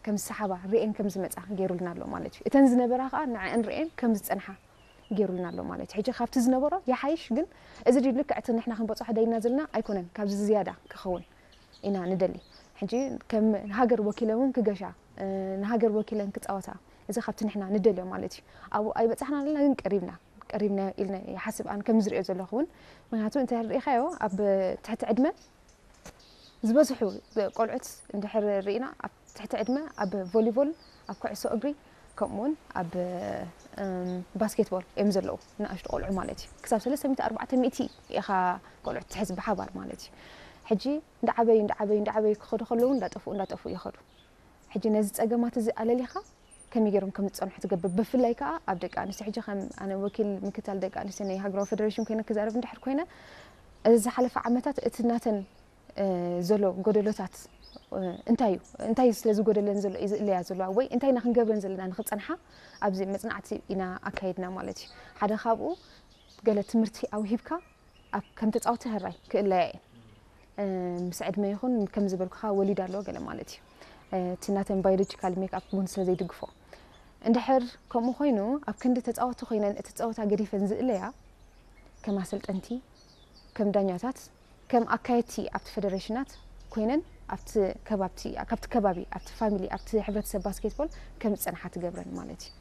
ከም ዝሰሓባ ርእየን ከም ዝመጻ ገይሩልና ኣሎ ማለት እዩ። እተን ዝነበራ ከኣ ንዕአን ርእየን ከም ዝጸንሓ ገይሩልና ኣሎ ማለት እዩ። ሕጂ ካብቲ ዝነበሮ ይሓይሽ፣ ግን እዚ ድዩ ልክዕ እቲ ንሕና ክንበጽሖ ደይና ዘለና ኣይኮነን፣ ካብዚ ዝያዳ ክኸውን ኢና ንደሊ። ሕጂ ከም ሃገር ወኪለን እውን ክገሻ፣ እ፣ ንሃገር ወኪለን ክጻወታ፣ እዚ ካብቲ ንሕና ንደልዮ ማለት እዩ። ኣብኡ ኣይበጻሕና ኣለና፣ ግን ቀሪብና፣ ቀሪብና ኢልና ይሓስብ ኣነ ከም ዝርእዮ ዘለኹ እውን። ምክንያቱ እንታይ ርኢኻዮ፣ ኣብ ትሕቲ ዕድመ ዝበዝሑ ቆልዑት እንድሕር ርኢና፣ ኣብ ትሕቲ ዕድመ ኣብ ቮሊቦል፣ ኣብ ኩዕሶ እግሪ፣ ከምኡውን ኣብ፣ እም፣ ባስኬትቦል እዮም ዘለዉ፣ ንኣሽቱ ቆልዑ ማለት እዩ። ክሳብ ሰለስተ ሚእቲ ኣርባዕተ ሚእቲ ኢኻ ቆልዑት ትሕዝ ብሓባር ማለት እዩ። ሕጂ እንዳዓበዩ፣ እንዳዓበዩ፣ እንዳዓበዩ ክኸዱ ከለዉ እንዳጠፍኡ፣ እንዳጠፍኡ ይኸዱ። ሕጂ ነዚ ጸገማት እዚ ኣለሊኻ ከመይ ገይሮም ከም ዝጸንሑ ትገብር። ብፍላይ ከኣ ኣብ ደቂ ኣንስትዮ፣ ሕጂ ከም ኣነ ወኪል ምክታል ደቂ ኣንስትዮ ናይ ሃገራዊ ፌደሬሽን ኮይነ ክዛረብ እንድሕር ኮይነ፣ እዚ ዝሓለፈ ዓመታት እቲ ናተን፣ እ፣ ዘሎ ጎደሎታት፣ እ፣ እንታይ እዩ? እንታይ እዩ ስለ ዝጎደለን ዘሎ እዩ ዝእለያ ዘለዋ? ወይ እንታይ ኢና ክንገብረን ዘለና ንኽጸንሓ ኣብዚ መጽናዕቲ ኢና ኣካይድና ማለት እዩ። ሓደ ካብኡ ገለ ትምህርቲ ኣውሂብካ ኣብ ከም ተጻወቲ ህራይ ክእለያ እየን። እ፣ ምስ ዕድመ ይኹን ከም ዝበልኩኻ ወሊድ ኣለዎ ገለ ማለት እዩ። እ፣ እቲ ናተን ባዮሎጂካል ሜክ ኣፕ እውን ስለ ዘይድግፎ። እንድሕር ከምኡ ኮይኑ ኣብ ክንዲ ተጻወቲ ኮይነን እቲ ጸወታ ገዲፈን ዝእለያ ከም ኣሰልጠንቲ፣ ከም ዳኛታት፣ ከም ኣካየድቲ ኣብቲ ፌደሬሽናት ኮይነን ኣብቲ ከባብቲ፣ ካብቲ ከባቢ፣ ኣብቲ ፋሚሊ፣ ኣብቲ ሕብረተሰብ ባስኬትቦል ከም ዝጸንሓ ትገብረን ማለት እዩ።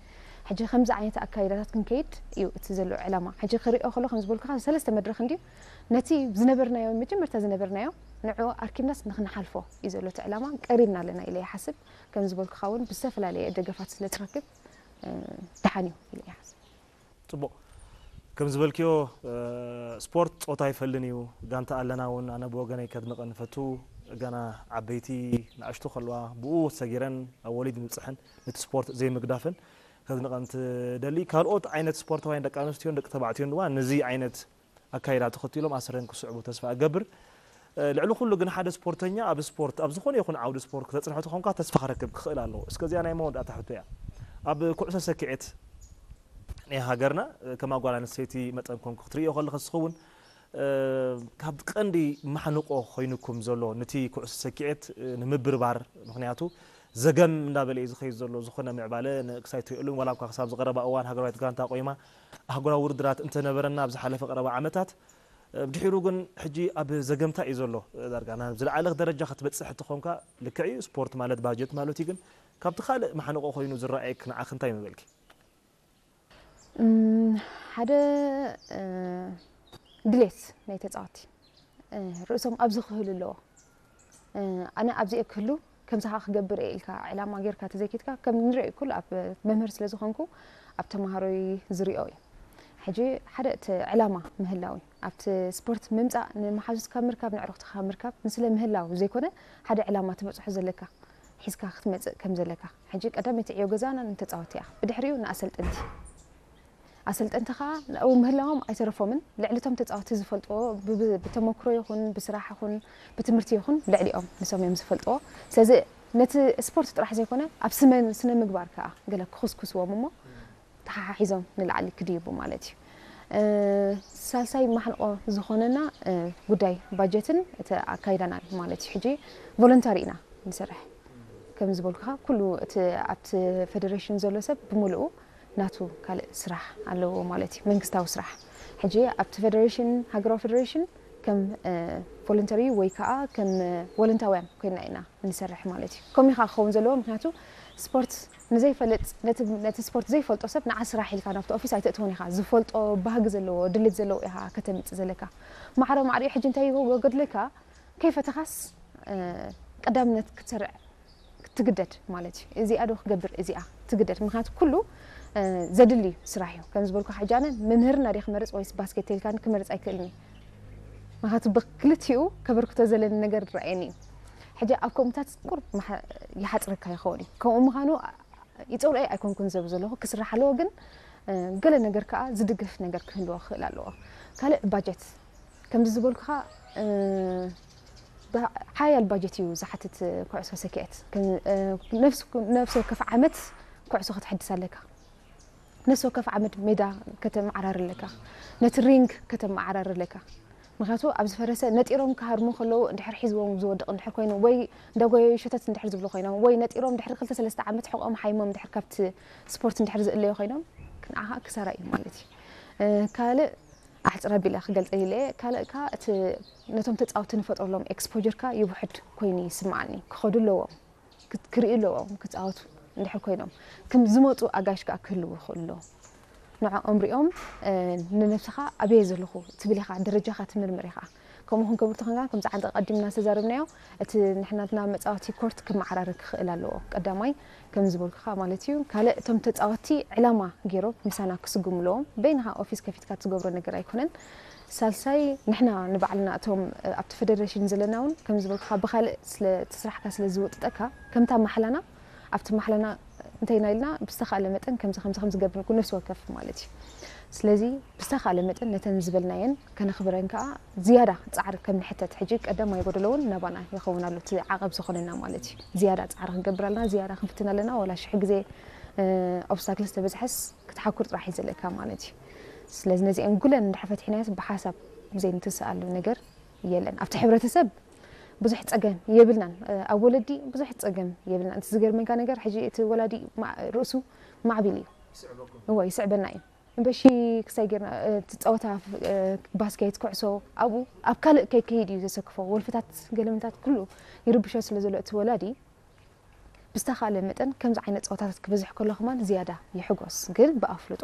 ሕጂ ከምዚ ዓይነት ኣካይዳታት ክንከይድ እዩ እቲ ዘሎ ዕላማ። ሕጂ ክሪኦ ከሎ ከም ዝበልኩኻ ሰለስተ መድረኽ እንድዩ። ነቲ ዝነበርናዮ፣ መጀመርታ ዝነበርናዮ ንዕኡ ኣርኪብናስ ንክንሓልፎ እዩ ዘሎ እቲ ዕላማ። ቀሪብና ኣለና ኢለ ይሓስብ። ከም ዝበልኩኻ እውን ብዝተፈላለየ ደገፋት ስለ ትረክብ፣ እ፣ ደሓን እዩ ኢለ ይሓስብ። ጽቡቕ። ከም ዝበልክዮ፣ እ፣ ስፖርት ጾታ ኣይፈልን እዩ። ጋንታ ኣለና እውን፣ ኣነ ብወገነይ ከድንቐን እፈቱ። ገና ዓበይቲ ንኣሽቱ ከለዋ ብኡ ሰጊረን ኣብ ወሊድ ምብጽሐን ነቲ ስፖርት ዘይምግዳፈን ከድንቐን ትደሊ። ካልኦት ዓይነት ስፖርታውያን ደቂ ኣንስትዮን ደቂ ተባዕትዮን ድማ ነዚ ዓይነት ኣካይዳ ተኸቲሎም ኣሰረን ክስዕቡ ተስፋ እገብር። እ፣ ልዕሊ ኩሉ ግን ሓደ ስፖርተኛ ኣብ ስፖርት፣ ኣብ ዝኾነ ይኹን ዓውዲ ስፖርት ክተጽንሖ ተኾንካ ተስፋ ክረክብ ክኽእል ኣለዎ። እስከ እዚኣ ናይ መወዳእታ ሕቶ እያ። ኣብ ኩዕሶ ሰኪዔት ናይ ሃገርና፣ እ፣ ከም ኣጓል ኣንስተይቲ መጠን ኮንኩ ክትርእዮ ከለኻ ዝኸውን፣ እ፣ ካብ ቀንዲ ማሕንቆ ኮይኑኩም ዘሎ ነቲ ኩዕሶ ሰኪዔት፣ እ፣ ንምብርባር፣ ምኽንያቱ ዘገም እንዳበለ እዩ ዝኸይድ ዘሎ። ዝኾነ ምዕባለ ንክሳይ ትርእየሉን፣ ዋላ እኳ ክሳብ ዝቐረባ እዋን ሃገራዊት ጋንታ ቆይማ ኣህጉራዊ ውድድራት እንተነበረና ኣብ ዝሓለፈ ቀረባ ዓመታት፣ እ፣ ብድሒሩ ግን ሕጂ ኣብ ዘገምታ እዩ ዘሎ። እ፣ ዳርጋ ናብ ዝለዓለ ደረጃ ክትበጽሕ እትኾንካ ልክዕ እዩ፣ ስፖርት ማለት ባጀት ማለት እዩ። ግን ካብቲ ካልእ ማሕንቆ ኮይኑ ዝረኣየክ ንዓኺ እንታይ ምበልኪ? እም፣ ሓደ፣ እ፣ ድሌት ናይ ተጻወቲ፣ እ፣ ርእሶም ኣብዚ ክህሉ ኣለዎ። እ፣ ኣነ ኣብዚ እየ ክህሉ፣ ከምዚ ከኣ ክገብር እየ ኢልካ ዕላማ ጌርካ ተዘይኬድካ፣ ከም ንሪኦ ኩሉ ኣብ መምህር ስለ ዝኾንኩ ኣብ ተማሃሮይ ዝሪኦ እዩ። ሕጂ ሓደ እቲ ዕላማ ምህላው እዩ። ኣብቲ ስፖርት ምምጻእ ንመሓዙትካ ምርካብ፣ ንዕሩኽትኻ ምርካብ ንስለ ምህላው ዘይኮነ፣ ሓደ ዕላማ ትበጽሖ ዘለካ ሒዝካ ክትመጽእ ከም ዘለካ። ሕጂ ቀዳመይቲ ዕዮ ገዛና ንተጻወቲ እያ። ብድሕሪኡ ንኣሰልጠንቲ። ኣሰልጠንቲ ኸኣ ኣብኡ ምህላዎም ኣይተረፎምን። ልዕሊ እቶም ተጻወቲ ዝፈልጥዎ ብ-፣ ብ-፣ ብተመክሮ ይኹን፣ ብስራሕ ይኹን፣ ብትምህርቲ ይኹን፣ ልዕሊኦም ንሶም እዮም ዝፈልጥዎ። ስለዚ ነቲ ስፖርት ጥራሕ ዘይኮነ፣ ኣብ ስመ-፣ ስነ ምግባር ከኣ ገለ ክኹስኩስዎም እሞ፣ ተሓሓሒዞም ንላዕሊ ክድይቡ ማለት እዩ። እ፣ ሳልሳይ ማሕንቆ ዝኾነና፣ እ፣ ጉዳይ ባጀትን እቲ ኣካይዳናን ማለት እዩ። ሕጂ ቮለንታሪ ኢና ንሰርሕ። ከም ዝበልኩኻ፣ ኩሉ እቲ ኣብቲ ፌደሬሽን ዘሎ ሰብ ብምሉኡ ናቱ ካልእ ስራሕ ኣለዎ ማለት እዩ፣ መንግስታዊ ስራሕ። ሕጂ ኣብቲ ፌደሬሽን፣ ሃገራዊ ፌደሬሽን ከም፣ እ፣ ቮለንተሪ ወይ ከኣ ከም፣ እ፣ ወለንታውያን ኮይንና ኢና ንሰርሕ ማለት እዩ። ከምኡ ኢኻ ክኸውን ዘለዎ፣ ምክንያቱ ስፖርት ንዘይፈልጥ፣ ነቲ፣ ነቲ ስፖርት ዘይፈልጦ ሰብ ንዓ ስራሕ ኢልካ ናብቲ ኦፊስ ኣይተእትዎን ኢኻ። ዝፈልጦ፣ ባህጊ ዘለዎ፣ ድሌት ዘለዎ ኢኻ ከተምጽእ ዘለካ። ማዕረ ማዕሪኡ ሕጂ እንታይ ይጎድለካ? ከይፈተኻስ፣ እ፣ ቀዳምነት ክትሰርዕ ትግደድ ማለት እዩ። እዚኣ ዶ ክገብር፣ እዚኣ ትግደድ። ምክንያቱ ኩሉ፣ እ፣ ዘድሊ ስራሕ እዩ። ከም ዝበልኩ ሕጂ ኣነ መምህርና ድየ ክመርጽ ወይስ ባስኬት ተልካኒ ክመርጽ ኣይክእልን እየ። ምክንያቱ ብክልቲኡ ከበርክቶ ዘለኒ ነገር ይረኣየኒ እዩ። ሕጂ ኣብ ከምኡታት ቁሩብ መሓ-፣ ይሓጽረካ ይኸውን እዩ። ከምኡ ምዃኑ ይጸልኦ ኣይኮንኩን ዘብ ዘለኹ፣ ክስራሕ ኣለዎ፣ ግን፣ እ፣ ገለ ነገር ከኣ ዝድግፍ ነገር ክህልዎ ክኽእል ኣለዎ። ካልእ ባጀት፣ ከምዚ ዝበልኩኻ፣ እ፣ ባ-፣ ሓያል ባጀት እዩ ዝሓትት ኩዕሶ ሰኪዐት። ከም፣ እ፣ ነፍስ፣ ነፍሲ ወከፍ ዓመት ኩዕሶ ከተሐድስ ኣለካ። ነፍሲ ወከፍ ዓመት ሜዳ ከተመዓራሪ ኣለካ። ነቲ ሪንግ ከተመዓራሪ ኣለካ። ምክንያቱ ኣብ ዝፈረሰ ነጢሮም ክሃርሙ ከለዉ እንድሕር ሒዝዎም ዝወድቕ እንድሕር ኮይኖም ወይ እንዳጎየዩ ሸተት እንድሕር ዝብሉ ኮይኖም ወይ ነጢሮም ድሕሪ ክልተ ሰለስተ ዓመት ሕቖም ሓይሞም እንድሕር ካብቲ ስፖርት እንድሕር ዝእለዩ ኮይኖም ንዓኻ ክሳራ እዩ ማለት እዩ። ካልእ ኣሕፅር ኣቢለ ክገልፀ ኢለ ካልእ ካ እቲ ነቶም ተፃወቲ ንፈጥረሎም ኤክስፖጀር ካ ይውሕድ ኮይኑ ይስምዓኒ። ክኸዱ ኣለዎም፣ ክርእዩ ኣለዎም ክፃወቱ እንድሕር ኮይኖም፣ ከም ዝመፁ ኣጋይሽ ከዓ ክህልዉ ይኽእሉ ኣለዎም። ንዕኦም ሪኦም ንነብስኻ ኣበየ ዘለኹ ትብል ኢኻ፣ ደረጃኻ ትምርምር ኢኻ። ከምኡ ክንገብር ተኾንካ ከምዚ ዓንዲ ቀዲምና ዝተዛረብናዮ እቲ ንሕናትና መፃወቲ ኮርት ክመዓራረ ክኽእል ኣለዎ። ቀዳማይ ከም ዝበልኩኻ ማለት እዩ። ካልእ እቶም ተፃወቲ ዕላማ ገይሮም ምሳና ክስጉሙ ኣለዎም። በይንኻ ኦፊስ ከፊትካ ትገብሮ ነገር ኣይኮነን። ሳልሳይ ንሕና ንባዕልና እቶም ኣብቲ ፌደሬሽን ዘለና እውን ከም ዝበልኩኻ ብኻልእ ስለ እቲ ስራሕካ ስለ ዝውጥጠካ ከምታ ማሕላና ኣብቲ ማሕላና እንተይና ኢልና ብዝተኻለ መጠን ከምዚ ከምዚ ከም ዝገብር ነፍሲ ወከፍ ማለት እዩ። ስለዚ ብዝተኻለ መጠን ነተን ዝበልናየን ከነኽብረን ከዓ ዝያዳ ፃዕሪ ከም ንሕተት ሕጂ ቀዳማይ ጎደሎ እውን ናባና ይኸውን ኣሎ እቲ ዓቐብ ዝኾነና ማለት እዩ። ዝያዳ ፃዕሪ ክንገብር ኣለና፣ ዝያዳ ክንፍትን ኣለና። ዋላ ሽሕ ግዜ ኦብስታክልስ ተበዝሐስ ክትሓኩር ጥራሕ እዩ ዘለካ ማለት እዩ። ስለዚ ነዚአን ጉለን እንድሕር ፈትሒናዮስ ብሓሳብ ዘይንትስኣሉ ነገር የለን። ኣብቲ ሕብረተሰብ ብዙሕ ፀገም የብልናን። ኣብ ወለዲ ብዙሕ ፀገም የብልናን። እቲ ዝገርመካ ነገር ሕጂ እቲ ወላዲ ማ- ርእሱ ማዕቢል እዩ። እዎ ይስዕበና እዩ። እምበሺ ክሳይ ጌርና እቲ ፀወታ ባስኬት ኩዕሶ ኣብኡ ኣብ ካልእ ከይከይድ እዩ ዘሰክፎ። ወልፍታት ገለመታት ኩሉ ይርብሾ ስለ ዘሎ እቲ ወላዲ ብዝተኻለ መጠን ከምዚ ዓይነት ፀወታታት ክበዝሕ ከሎ ከማን ዝያዳ ይሕጎስ፣ ግን ብኣፍልጦ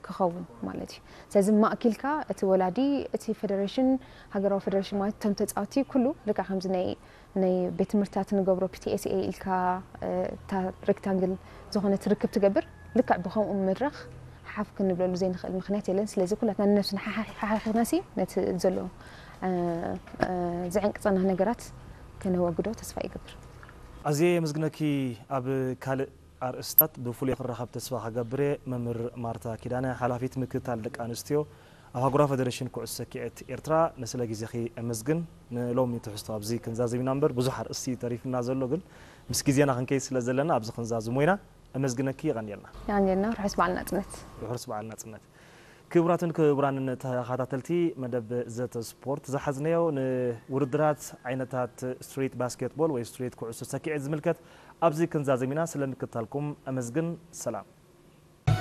ክኸውን ማለት እዩ። ስለዚ ማእኪልካ እቲ ወላዲ እቲ ፌደሬሽን ሃገራዊ ፌደሬሽን ማለት እቶም ተፃወቲ ኩሉ ልክዕ ከምዚ ናይ ናይ ቤት ትምህርትታት ንገብሮ ፒቲኤስኤ ኢልካ እታ ሬክታንግል ዝኾነት ርክብ ትገብር ልክዕ ብከምኡ መድረኽ ሓፍ ክንብለሉ ዘይንኽእል ምክንያት የለን። ስለዚ ኩላትና ንነብስና ሓሓኺናሲ ነቲ ዘሎ ዝዕንቅፀና ነገራት ከነወግዶ ተስፋ ይገብር። ኣዝየ የመስግነኪ። ኣብ ካልእ ኣርእስታት ብፍሉይ ክራኸብ ተስፋ ክገብር እየ። መምህር ማርታ ኪዳነ፣ ሓላፊት ምክትታል ደቂ ኣንስትዮ ኣብ ኣህጉራዊ ፈደረሽን ኩዕሶ ሰኪዐት ኤርትራ፣ ንስለ ግዜኺ እመስግን። ንሎሚ ትሕዝቶ ኣብዚ ክንዛዘም ኢና እምበር ብዙሕ ኣርእስቲ ተሪፍና ዘሎ፣ ግን ምስ ግዜና ክንከይድ ስለ ዘለና ኣብዚ ክንዛዝሞ ኢና። እመስግነኪ። የቐንየልና። የቐንየልና። ርሑስ በዓል ናጽነት። ርሑስ በዓል ናጽነት። ክቡራትን ክቡራንን ተኸታተልቲ መደብ ዘተ ስፖርት ዝሓዝናዮ ንውድድራት ዓይነታት ስትሪት ባስኬትቦል ወይ ስትሪት ኩዕሶ ሰኪዐት ዝምልከት ኣብዚ ክንዛዘም ኢና። ስለ ምክትታልኩም ኣመስግን። ሰላም።